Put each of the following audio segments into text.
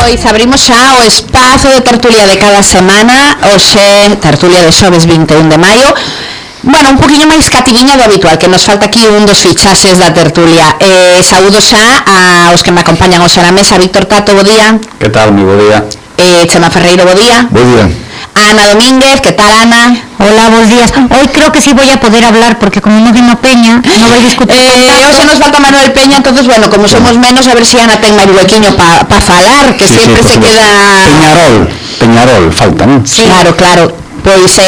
Pois abrimos xa o espazo de tertulia de cada semana, hoxe tertulia de xoves 21 de maio. Bueno, un poquinho máis cativiña do habitual, que nos falta aquí un dos fichaxes da tertulia. Saúdo xa aos que me acompañan hoxe na mesa. Víctor Tato, bo día. Que tal, moi bo día. Chema Ferreiro, bo día. Bo día. Ana Domínguez, ¿qué tal, Ana? Hola, buenos días. Hoy creo que sí voy a poder hablar porque como no vino Peña, no voy a discutir. Hoxe nos falta Manuel Peña, entonces, bueno, como somos menos, a ver si Ana ten máis huequiño pa falar, que sí, sempre se queda... Peñarol, falta, non? Sí. Claro. Pois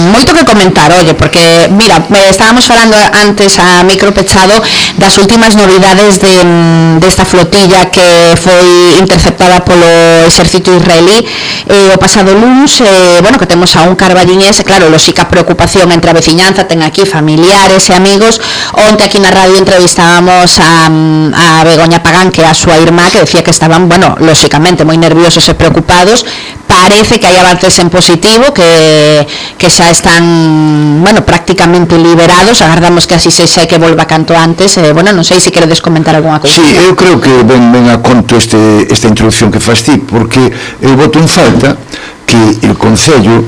moito que comentar, oye, porque mira, estábamos falando antes a micro pechado das últimas novidades desta flotilla que foi interceptada polo exército israelí o pasado luns, bueno, que temos a un carballiñés, claro, lóxica preocupación entre a veciñanza, ten aquí familiares e amigos. Onte aquí na radio entrevistábamos a Begoña Pagán, que é a súa irmá, que decía que estaban, bueno, lóxicamente moi nerviosos e preocupados. Parece que hai avances en positivo, que xa están, bueno, prácticamente liberados. Agardamos que así sexa e que volva canto antes. Bueno, non sei se queredes comentar algunha cousa. Sí, eu creo que ven a conto esta introducción que faz ti, porque eu boto en falta que el Concello,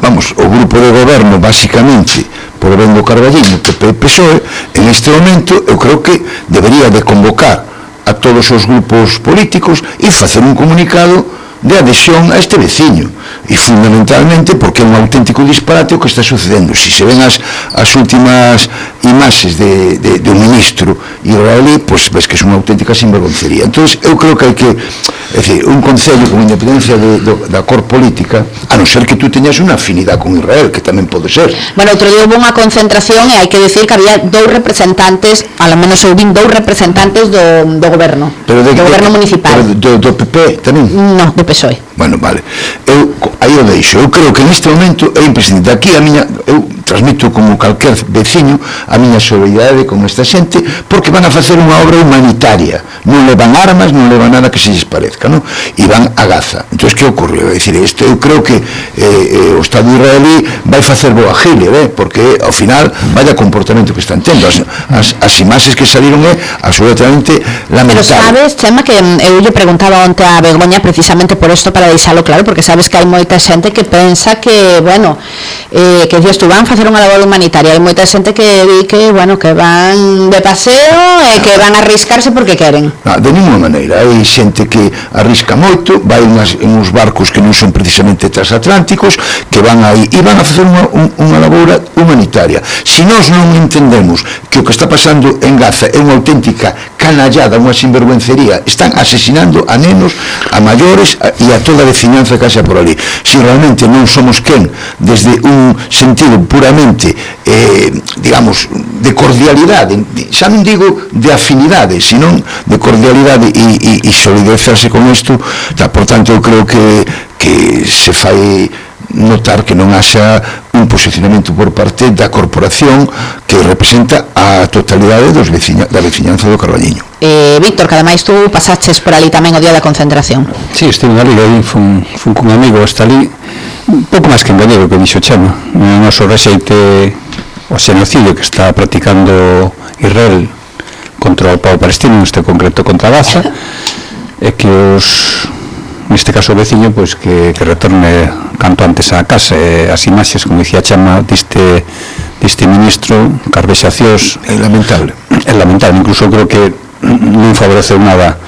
o grupo de goberno, basicamente, por ben do Carballiño, PP e PSOE, en este momento, eu creo que debería de convocar a todos os grupos políticos e facer un comunicado de adhesión a este veciño, e fundamentalmente porque é un auténtico disparate o que está sucedendo. Si se ven as últimas imaxes de un ministro israelí, pois ves que é unha auténtica sinvergoncería. Entón, eu creo que hai que, é dicir, un concello con independencia da cor política, a non ser que tú teñas unha afinidade con Israel, que tamén pode ser. Bueno, outro día houve unha concentración e hai que decir que había dous representantes, ao menos eu vin dous representantes do goberno, do goberno municipal. Do PP tamén? No, do PSOE. Bueno, vale. Aí o deixo. Eu creo que neste momento é imprescindible. Aquí eu transmito como calquer veciño a miña solidaridade con esta xente, porque van a facer unha obra humanitaria. Non levan armas, non levan nada que se lles parezca, non? E van a Gaza. Entón, que ocorreu? É dicir, eu creo que o Estado israelí vai facer boa gile, porque ao final vaya comportamento que están tendo. As imaxes que saliron é absolutamente lamentable. Pero sabes, Chema, que eu lle preguntaba onte a Begoña precisamente por isto, para deixalo claro, porque sabes que hai moita xente que pensa que, bueno, que dices tú, van facer unha labor humanitaria. Hai moita xente que di que, bueno, que van de paseo e que van a arriscarse porque queren. Non, de ninguna maneira. Hai xente que arrisca moito, vai en uns barcos que non son precisamente transatlánticos, que van aí e van a facer unha labor humanitaria. Se nós non entendemos que o que está pasando en Gaza é unha auténtica canallada, unha sinvergüencería, están asesinando a nenos, a maiores e a toda a veciñanza que xa por ali. Se realmente non somos quen, desde un sentido puramente, digamos, de cordialidade, xa non digo de afinidade, senón de cordialidade e solidarizarse con isto, por tanto, eu creo que se fai notar que non haxa un posicionamento por parte da corporación que representa a totalidade da veciñanza do Carballiño. Víctor, que ademais tú pasaches por ali tamén o día da concentración. Sí, estive ali, fun cun amigo hasta ali, un pouco máis que engañado que dixo Chema. O noso rexeite o xenocidio que está practicando Israel contra o povo palestino, neste concreto contra Gaza, é que neste caso o veciño, pois que retorne canto antes á casa. As imaxes, como dicía Chama, deste ministro, carvexacións, é lamentable. É lamentable, incluso creo que non favoreceu nada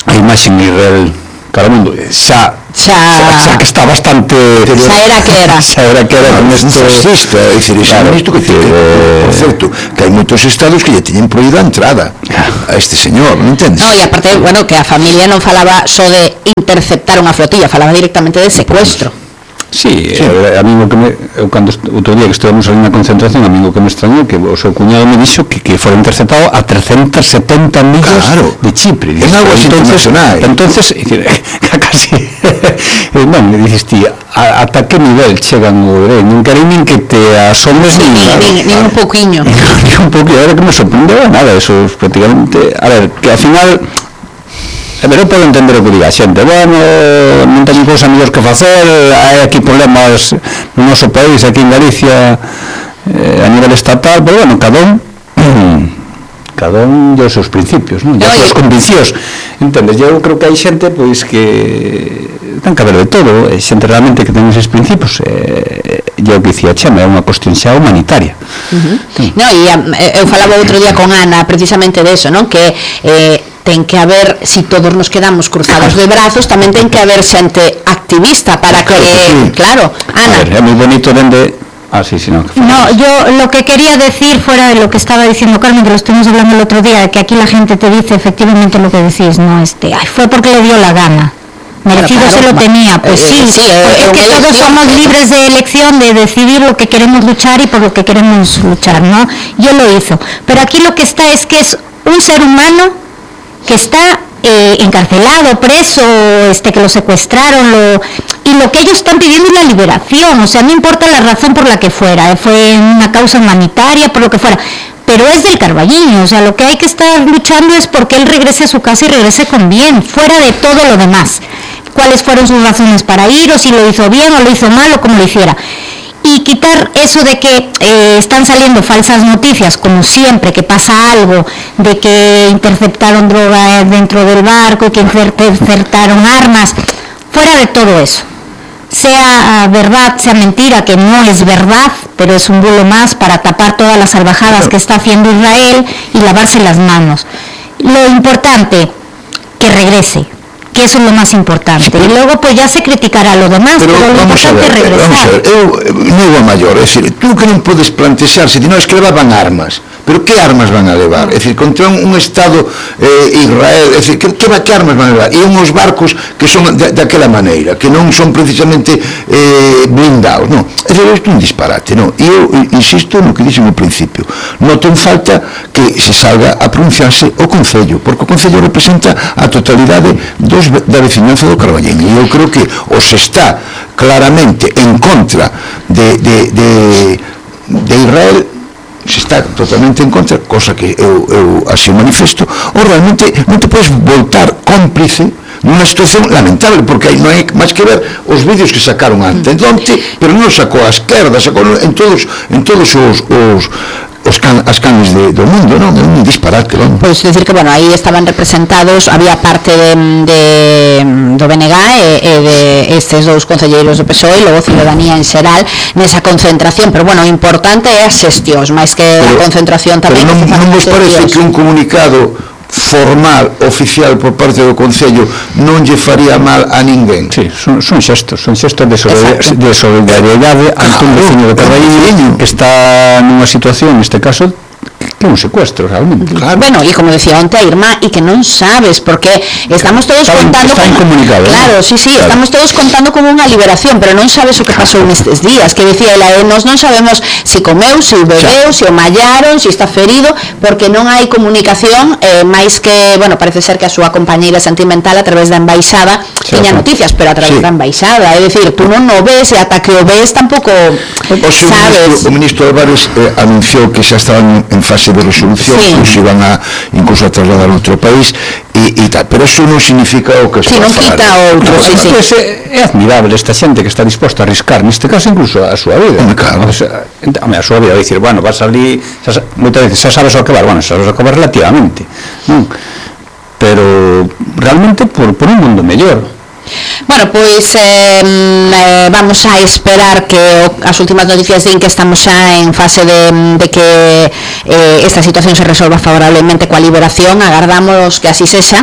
a imaxe en Israel para o mundo. Xa que está bastante... Xa era que era con isto... fascista, é dicir, isto que por certo, que hai moitos estados que lle teñen proída a entrada a este señor, non entendes? No, e aparte, bueno, que a familia non falaba só de interceptar unha flotilla, falaba directamente de secuestro. Sí, a mí cando outro día que estivemos ali na concentración, a mí o que me extrañou que o seu cuñado me dixo que fora interceptado a 370 millas de Chipre. En algo internacional. Entonces, casi, bueno, me dices ti, ata que nivel chegan o non querem nin que te asombres nin un pouquiño. Nin un pouquiño, a ver que me sorprendeu nada, eso prácticamente, a ver, que ao final... Pero eu podo entender o que diga a xente, bueno, non teño cousa mellor que facer, hai aquí problemas no noso país, aquí en Galicia, a nivel estatal, pero bueno, cada un cada un dos seus principios, non? E as súas conviccións, entendes? Eu creo que hai xente pois que ten que haber de todo, xente realmente que ten eses principios, e o que dicía Chema, é unha cuestión xa humanitaria. No, e eu falaba outro día con Ana precisamente de eso, non? Que ten que haber, si todos nos quedamos cruzados de brazos, tamén ten que haber xente activista para que, claro, Ana. A ver, é moi bonito dende... No, yo lo que quería decir, fuera de lo que estaba diciendo Carmen, que lo estuvimos hablando el otro día, que aquí la gente te dice efectivamente lo que decís, no, fue porque le dio la gana. Merecido se lo tenía, pues sí, porque todos somos libres de elección, de decidir lo que queremos luchar y por lo que queremos luchar, ¿no? Yo lo hizo. Pero aquí lo que está es que es un ser humano que está encarcelado, preso, que lo secuestraron, y lo que ellos están pidiendo es la liberación, o sea, no importa la razón por la que fuera, fue una causa humanitaria, por lo que fuera, pero es del Carballiño, o sea, lo que hay que estar luchando es porque él regrese a su casa y regrese con bien, fuera de todo lo demás, cuáles fueron sus razones para ir, o si lo hizo bien o lo hizo mal, o como lo hiciera. Y quitar eso de que están saliendo falsas noticias, como siempre, que pasa algo, de que interceptaron droga dentro del barco, que interceptaron armas, fuera de todo eso. Sea verdad, sea mentira, que no es verdad, pero es un bulo más para tapar todas las salvajadas que está haciendo Israel y lavarse las manos. Lo importante, que regrese, que eso es lo más importante, y luego pues ya se criticará lo demás, pero lo importante es regresar. Non é maior, é dicir, tú que non podes plantexar, se non es que levaban armas, pero que armas van a levar? É dicir, contra un Estado Israel, é dicir, que armas van a levar? E unhos barcos que son daquela maneira, que non son precisamente blindados, non? É dicir, isto é un disparate, non? E eu insisto no que dixen ao principio, noto en falta que se salga a pronunciarse o Concello, porque o Concello representa a totalidade da veciñanza do Carballiño, e eu creo que os está claramente en contra de Israel, se está totalmente en contra, cosa que eu así o manifesto, ou realmente non te podes voltar cómplice nunha situación lamentable, porque non hai máis que ver os vídeos que sacaron antes, pero non sacou a esquerda, sacou en todos as canes do mundo, non? É un disparate, non? Pois decir que, bueno, aí estaban representados, había parte do BNG e de estes dous concelleiros do PSOE e logo Ciudadanía en xeral nesa concentración, pero, bueno, o importante é as xestións, máis que a concentración tamén. Pero non vos parece que un comunicado formal, oficial por parte do Concello non lle faría mal a ninguén? Sí, son xestos de solidariedade ante un veciño de Carballiño que está nunha situación, neste caso, que é un secuestro realmente. Claro. Bueno, e como decía onte a Irma, e que non sabes, porque estamos todos contando está incomunicado. Claro, sí, claro. Estamos todos contando como unha liberación, pero non sabes o que pasou nestes días, que decía ela, nos non sabemos se comeu, se o bebeu, se o mallaron, se está ferido, porque non hai comunicación, máis que, bueno, parece ser que a súa compañeira sentimental a través da embaixada tiña noticias, pero a través da embaixada, é dicir, tú non o ves e ata que o ves tampouco sabes. O ministro Álvarez anunciou que xa estaban en fase de resolución, se iban incluso a trasladar a outro país e tal, pero eso non significa o que se non quita outro. É admirable esta xente que está disposta a arriscar, neste caso incluso a súa vida, a súa vida, dicir, bueno, vas ali moitas veces xa sabes o que vas, bueno, xa sabes o que vas relativamente, non? Pero realmente por un mundo mellor. Bueno, pois vamos a esperar que as últimas noticias din que estamos xa en fase de que esta situación se resolva favorablemente coa liberación, agardamos que así sexa.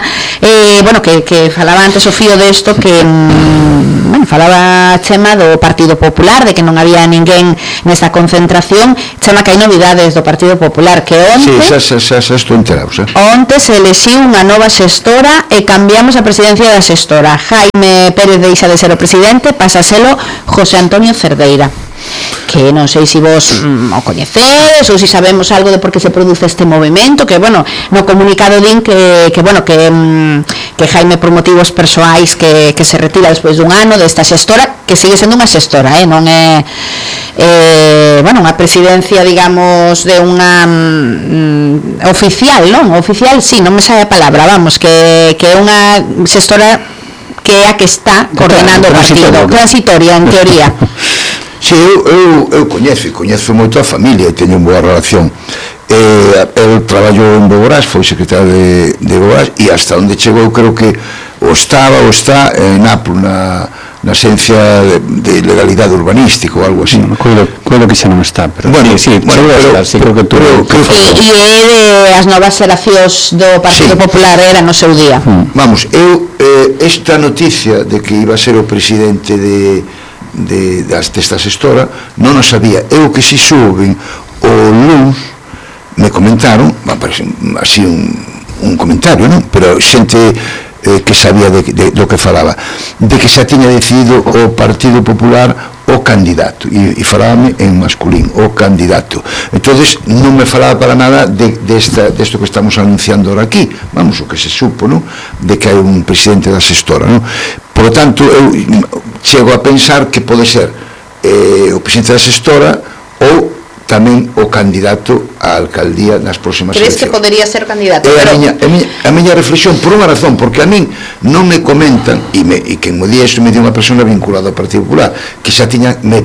Bueno, que falaba antes o fío desto que bueno, falaba Chema do Partido Popular, de que non había ninguén nesta concentración. Chema, que hai novidades do Partido Popular, que onte xa estou enterado, onte se elixiu unha nova xestora e cambiamos a presidencia da xestora. Jaime Pérez deixa de ser o presidente, pasa a selo José Antonio Cerdeira, que non sei se vos o coñecedes ou se sabemos algo de por que se produce este movimento, que, bueno, no comunicado din que Jaime por motivos persoais que se retira despois dun ano desta xestora, que sigue sendo unha xestora, non é bueno, unha presidencia, digamos, de unha oficial, non? Oficial, sí, non me sabe a palabra, vamos, que é unha xestora que é a que está coordenando o partido, transitoria, en teoría. Sí, Si, eu coñezo moito a familia e teño boa relación. El traballou en Bogorás, foi secretario de Bogorás, e hasta onde chegou creo que está en APU, na esencia de legalidade urbanística ou algo así. Coido que xa non está, pero bueno, sí, creo que tú... E é as novas xeracións do Partido Popular era no seu día. Vamos, esta noticia de que iba a ser o presidente desta xestora non o sabía. Eu que si souben o luns me comentaron, así un comentario, non? Pero xente que sabía do que falaba, de que xa tiña decidido o Partido Popular o candidato, e falábame en masculín, o candidato. Entonces non me falaba para nada desto que estamos anunciando ahora aquí, vamos, o que se supo, non? De que hai un presidente da xestora, non? Por lo tanto, eu chego a pensar que pode ser o presidente da xestora ou tamén o candidato á alcaldía nas próximas eleccións. Crees que podería ser candidato? A miña reflexión, por unha razón, porque a min non me comentan, e quen me di isto me di unha persona vinculada ao Partido Popular, que xa tiña, me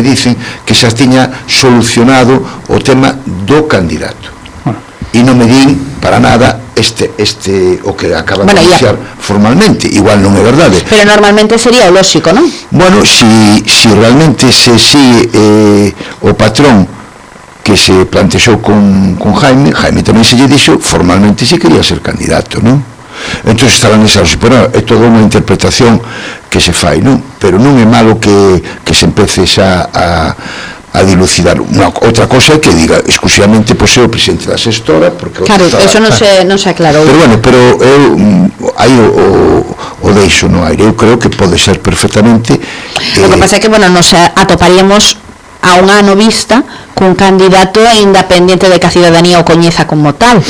dicen que xa tiña solucionado o tema do candidato. E non me din para nada o que acaba de anunciar formalmente, igual non é verdade. Pero normalmente sería o lóxico, non? Bueno, si realmente se sigue o patrón que se plantexou con Jaime tamén se lle dixo formalmente se quería ser candidato, non? Entón estarán esas, pero é toda unha interpretación que se fai, non? Pero non é malo que se empece xa a dilucidar. Outra cosa é que diga exclusivamente pois é o presidente da xestora, porque claro, eso non se aclarou. Pero bueno, eu aí o deixo no aire. Eu creo que pode ser perfectamente. O que pasa é que, bueno, nos atoparíamos a un ano vista cun candidato independiente de que a cidadanía o coñeza como tal,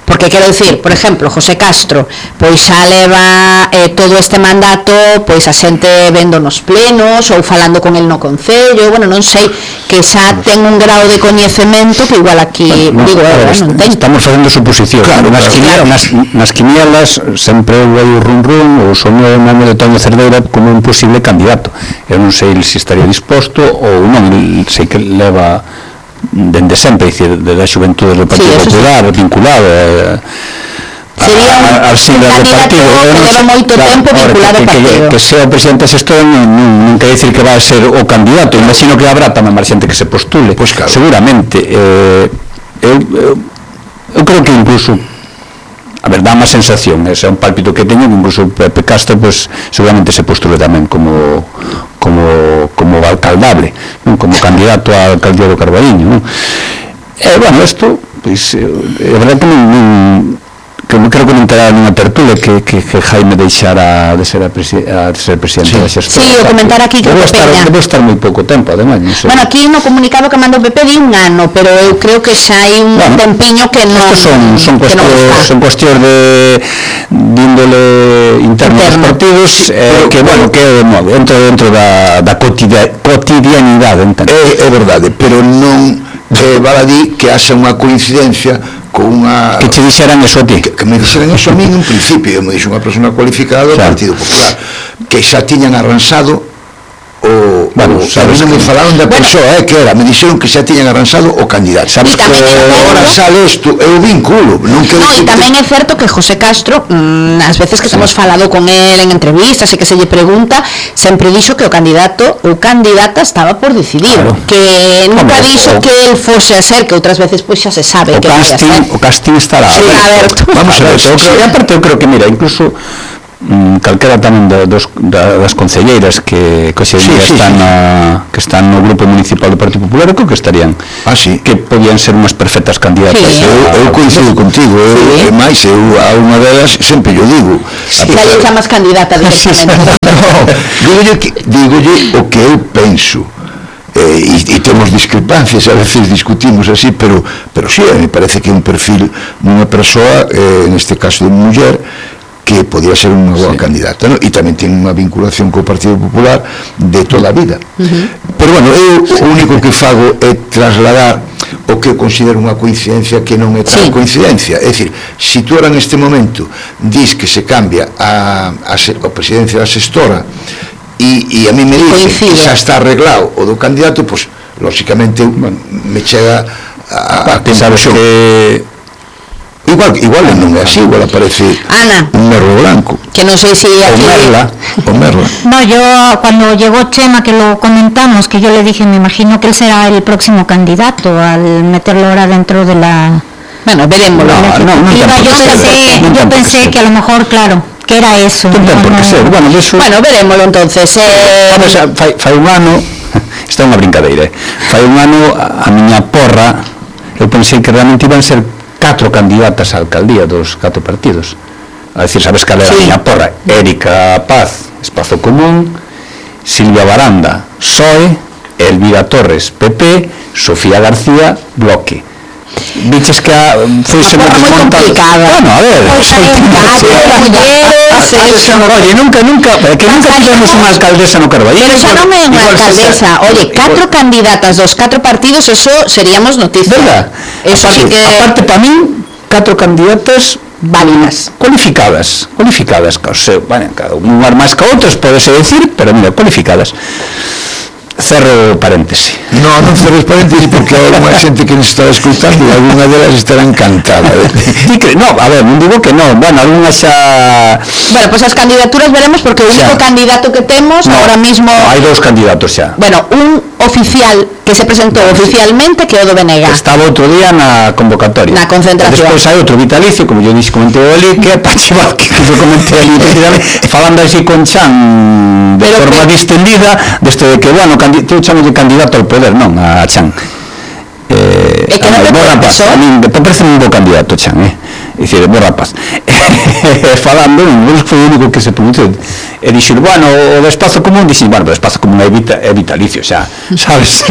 porque quero dicir, por exemplo, José Castro pois xa leva todo este mandato pois a xente vendo nos plenos ou falando con el no concello, bueno, non sei, que xa ten un grau de coñecemento que igual aquí, digo, non ten. Estamos facendo suposicións, claro, nas quinielas sempre hai o rum ou son o nome de Toño Cerdeira como un posible candidato. Eu non sei se estaría disposto ou non, sei que leva dende sempre, desde a xuventude do Partido Popular, vinculado sería as siglas do partido, que leva moito tempo vinculado ao partido, que sea o presidente xestor non quer dicir que vai a ser o candidato. Imagino que habrá tamén máis xente que se postule, seguramente. Eu creo que incluso, a ver, dá unha sensación, é un pálpito que teño, que incluso Pepe Castro seguramente se postule tamén como alcaldable, como candidato á alcaldía do Carballiño. Bueno, isto é verdade que non creo que non terá nunha tertulia que Jaime deixara de ser presidente da xestora. Sí, o comentar aquí que debo estar moi pouco tempo, ademais. Bueno, aquí no comunicado que mandou Pepe di un ano, pero eu creo que xa hai un tempiño que non son cuestións de índole interno dos partidos, que, bueno, que dentro da cotidianidade. É verdade, pero non vale a dir que haxa unha coincidencia con unha... Que che dixeran eso a ti? Que me dixeran eso a mí en principio, me dixo unha persona cualificada do Partido Popular, que xa tiñan arransado bueno, sabes que me falaron da persoa, que era, me dixeron que xa tiñan arransado o candidato. Sabes que agora sale isto, é o vínculo. E tamén é certo que José Castro, as veces que hemos falado con él en entrevistas e que se lle pregunta, sempre dixo que o candidato ou candidata estaba por decidir, que nunca dixo que él fose a ser, que outras veces pois xa se sabe que vai a ser. O casting estará aberto. Vamos a ver, aparte eu creo que, mira, incluso calquera tamén das concelleiras que hoxe están no grupo municipal do Partido Popular, creo que estarían, que podían ser unhas perfectas candidatas. Eu coincido contigo, e máis, a unha delas sempre yo digo, xa lle chamas candidata directamente. Dígolle o que eu penso, e temos discrepancias, a veces discutimos así, pero sí, me parece que é un perfil dunha persoa, neste caso de muller, que podía ser unha boa candidata, e tamén ten unha vinculación co Partido Popular de toda a vida. Pero bueno, eu o único que fago é trasladar o que eu considero unha coincidencia que non é tal coincidencia. É dicir, se tú ahora neste momento dis que se cambia a presidencia da xestora e a mí me dice que xa está arreglado o do candidato, pois lóxicamente me chega a sabes que igual non é así, igual aparece Ana, un merlo blanco, que non sei si o merla. No, yo cuando llegó Chema, que lo comentamos, que yo le dije, me imagino que él será el próximo candidato al meterlo ahora dentro de la... Bueno, verémoslo. Yo pensé que a lo mejor, claro, que era eso. Bueno, verémoslo entonces. Vamos, fai un ano, está unha brincadeira, fai un ano a miña porra, eu pensei que realmente iban ser 4 candidatas á alcaldía dos 4 partidos. A decir, sabes cal era a miña porra? Érica Paz, Espazo Común, Silvia Baranda, PSOE, Elvira Torres, PP, Sofía García, Bloque. Viches que foi moi complicada. Bueno, a ver, oye, nunca tivemos unha alcaldesa no Carballero. Pero xa non é unha alcaldesa. Oye, 4 candidatas dos 4 partidos, eso seríamos noticia. Verdad? Eso sí que... Aparte, para min, 4 candidatas válidas, cualificadas, bueno, cada unhas máis que outras, podese decir, pero mira, cualificadas. Cerro paréntese. Non cerres paréntese porque hai unha xente que nos está escutando e alguna delas estará encantada. No, a ver, non digo que non, bueno, alguna xa... Bueno, pues as candidaturas veremos porque o único candidato que temos ahora mismo... hai 2 candidatos xa. Bueno, un oficial que se presentou oficialmente que é o do Benega. Estaba outro día na convocatoria. Na concentración. Despois hai outro vitalicio, como yo dixo, comentei ali, que é Pachival, que eu comentei ali falando así con Chan de forma distendida, desto de que, bueno, eu chamo de candidato ao poder, non a Chan. É que non te parece? A mí me parece un bo candidato, Chan, é dicir, bo rapaz. Falando, foi o único que se pronunciou e dixo, bueno, o de Espazo Común, dixo, bueno, o de Espazo Común é vitalicio, xa, sabes?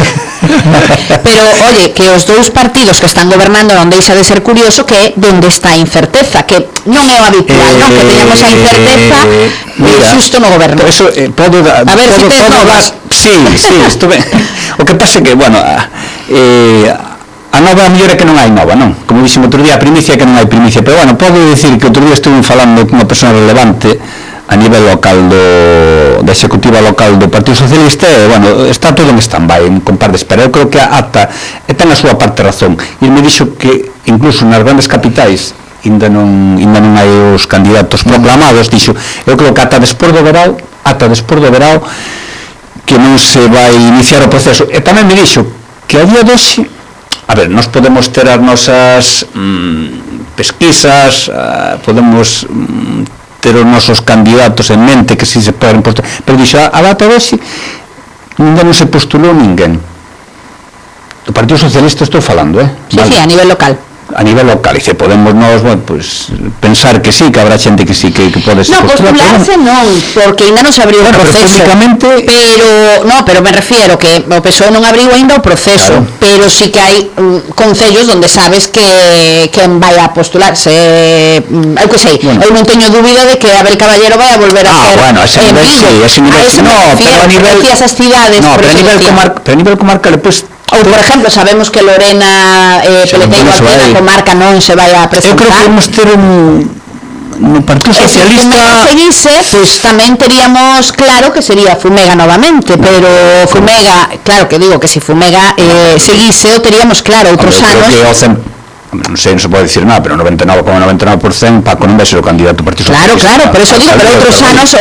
Pero, oye, que os 2 partidos que están gobernando non deixa de ser curioso que donde está a incerteza, que non é o habitual, non? Que teñamos a incerteza xusto no goberno. Eso, a ver, si te novas. Sí, estuve. O que pasa é que, bueno, a nova mellor é que non hai nova, non? Como dixemos outro día, a primicia é que non hai primicia, pero bueno, podo dicir que outro día estuve falando con unha persona relevante a nivel local da executiva local do Partido Socialista e, bueno, está todo en stand-by, con par de espera. Eu creo que ata ten a súa parte razón. E me dixo que incluso nas grandes capitais ainda non hai os candidatos proclamados, dixo, eu creo que ata despois do verao que non se vai iniciar o proceso. E tamén me dixo que a día de hoxe, a ver, nos podemos ter as nosas pesquisas, podemos ter os nosos candidatos en mente que si se poden postular, pero dixo, a data de hoxe ainda non se postulou ninguén do Partido Socialista, estou falando, Sí, vale. Sí, a nivel local. A nivel local, e se podemos nós, bueno, pues, pensar que sí, que habrá xente que sí, que pode ser postular. No, postularse non, porque ainda non se abriu o proceso. Pero me refiero que o PSOE non abriu ainda o proceso, claro. Pero sí que hai concellos onde sabes que vai a postularse. Eu que sei, eu non teño dúbida de que Abel Caballero vai a volver a ser bueno, ese nivel, sí, ese nivel, pero a nivel... cidades, no, pero a nivel comarcal, pues, ou, por exemplo, sabemos que Lorena Peleteiro Alpena comarca non se vai a presentar. Eu creo que vamos ter no Partido Socialista... Se seguise, pois tamén teríamos claro que sería Fumega novamente, pero Fumega, claro que digo que se Fumega seguise, o teríamos claro outros anos... non sei, non se pode dicir nada, pero 99,99% Paco non vai ser o candidato do Partido Socialista. Claro, por eso digo, pero outros anos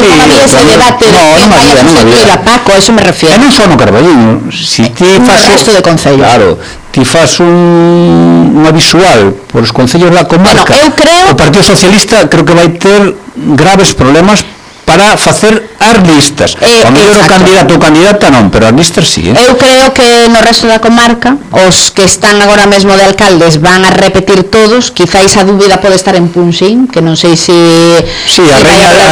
non había ese debate de que vai a sustituir a Paco, a eso me refiero. E non só no Carballiño, si ti fas o resto de concellos. Claro, ti fas unha visual por os concellos da comarca, eu creo... o Partido Socialista creo que vai ter graves problemas para facer as listas. O mellor o candidato ou candidata non, pero as listas sí. Eu creo que no resto da comarca os que están agora mesmo de alcaldes van a repetir todos, quizáis a dúbida pode estar en Punxín, que non sei se... Sí, a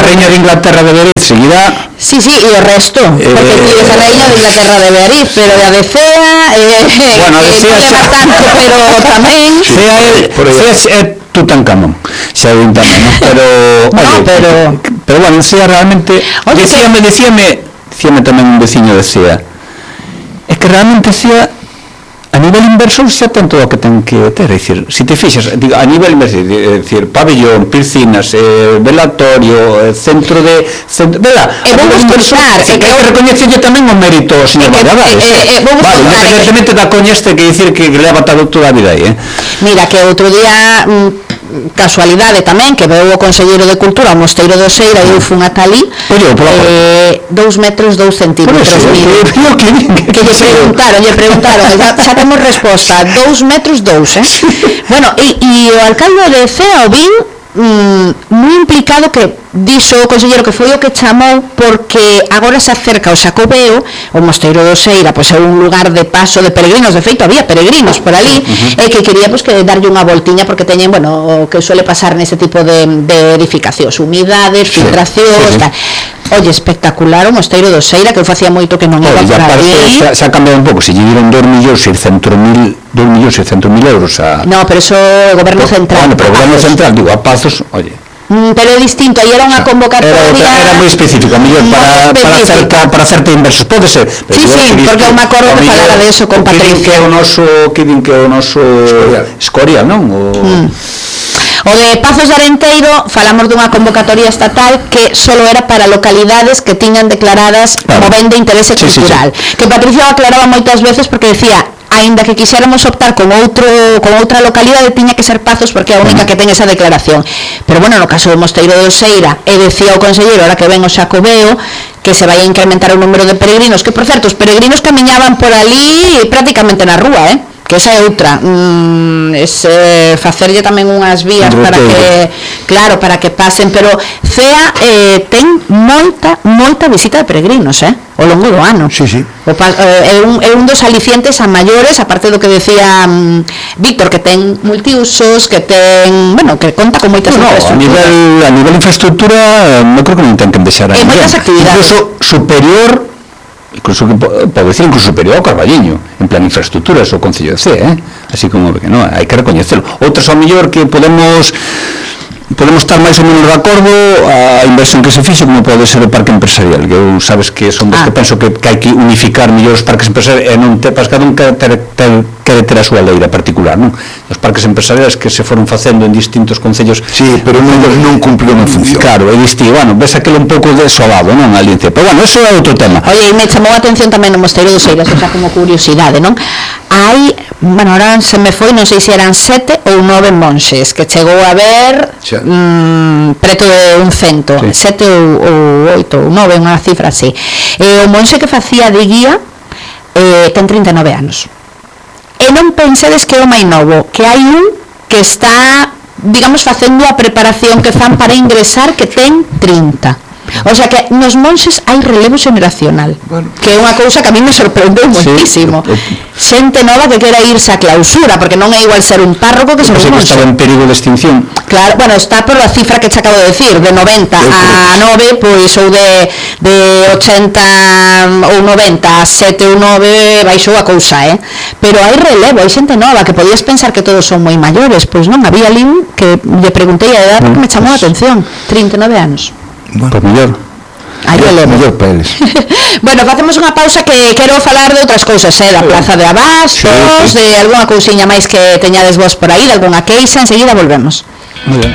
reina de Inglaterra de Beariz seguirá... Sí, e o resto, porque tú eres a reina de Inglaterra de Beariz, pero a de Cea... Bueno, a de Cea xa... pero tamén... Cea é Tutankamón, xa un tamén, ¿no? Pero bueno, Cea realmente... Decíame tamén un veciño de Cea, é que realmente Cea a nivel inversor xa ten todo o que ten que ter, é dicir, se te fixas, digo, a nivel inversor, é dicir, pabellón, piscinas, velatorio, centro de vela, vou explicar, que recoñecelle tamén o mérito ao señor Valladares. Vale, independentemente da coña este que dicir que leva toda a vida aí, Mira, que outro día casualidade tamén que veu o conselleiro de Cultura ao Mosteiro do Seira e eu fun ata ali 2 metros 2 centímetros que lle preguntaron xa temos resposta 2 metros 2 bueno, e o alcalde de Cea o vin moi implicado que dixo o conselleiro que foi o que chamou porque agora se acerca o Xacobeo, o Mosteiro do Seira pois é un lugar de paso de peregrinos, de feito había peregrinos por ali e que quería pois que darlle unha voltiña porque teñen, bueno, o que suele pasar nese tipo de edificacións, humidades, filtracións, tal. Oye, espectacular o Mosteiro do Seira, que eu facía moito que non iba por ali. Se ha cambiado un pouco, se lle dieron 2.600.000 euros a... No, pero eso o Goberno Central. Bueno, pero o Goberno Central, digo, a Pazos, oye... pero é distinto, aí era unha convocatoria era moi específica, mellor para certa inversión, pode ser, sí, porque eu me acordo que falara de eso con Patricia, que é o noso Escorial, non? O de Pazos de Arenteiro falamos dunha convocatoria estatal que solo era para localidades que tiñan declaradas como ben de interese cultural, que Patricia aclaraba moitas veces porque decía aínda que quixéramos optar con outra localidade tiña que ser Pazos porque é a única que ten esa declaración, pero bueno, no caso do Mosteiro do Seira e decía o conselleiro ahora que ven o Xacobeo que se vai a incrementar o número de peregrinos, que por certo os peregrinos camiñaban por ali prácticamente na rúa, que esa é outra, facerlle tamén unhas vías para que, claro, para que pasen, pero Cea ten moita visita de peregrinos, ao longo do ano. Sí. É un dos alicientes a maiores, aparte do que decía Víctor, que ten multiusos, que ten, bueno, que conta con moitas infraestructuras. A nivel infraestructura, non creo que non ten que deixar a moitas actividades. Incluso pode decir superior ao Carballiño en plan infraestructuras o Concello de Cea, así como que non, hai que recoñecelo. Outros ao mellor que podemos estar máis ou menos de acordo a inversión que se fixe como pode ser o parque empresarial, que eu sabes que son dos que penso que hai que unificar mellor os parques empresariais e non para cada un quere ter a súa leira particular, non? Os parques empresariais que se foron facendo en distintos concellos, sí, pero non cumpriu unha función. Claro, é distinto, bueno, ves aquele un pouco desolado, non, ali, pero bueno, eso é outro tema. Oye, e me chamou a atención tamén no Mosteiro do Seira, xa como curiosidade, non? Hai, bueno, ahora se me foi, non sei se eran 7 ou 9 monxes que chegou a ver preto de un 100, 7 ou 8 ou 9, unha cifra así. O monxe que facía de guía ten 39 anos. E non pensedes que é o máis novo, que hai un que está, digamos, facendo a preparación que fan para ingresar que ten 30. O sea que nos monxes hai relevo xeneracional, que é unha cousa que a mí me sorprendeu moitísimo. Xente nova que quera irse a clausura, porque non é igual ser un párroco que ser un monxe. Estaba en perigo de extinción. Claro, bueno, está por a cifra que te acabo de decir, de 90 a 9, pois ou de 80 ou 90 a 7 ou 9 baixou a cousa, pero hai relevo, hai xente nova que podías pensar que todos son moi maiores, pois non, había ali que lle preguntei a edad que me chamou a atención, 39 anos. Pues mellor. Mellor para eles. Bueno, facemos unha pausa que quero falar de outras cousas, da Plaza de Abastos, de algunha cousiña máis que teñades vos por aí, de algunha queixa, enseguida volvemos. Muy ben.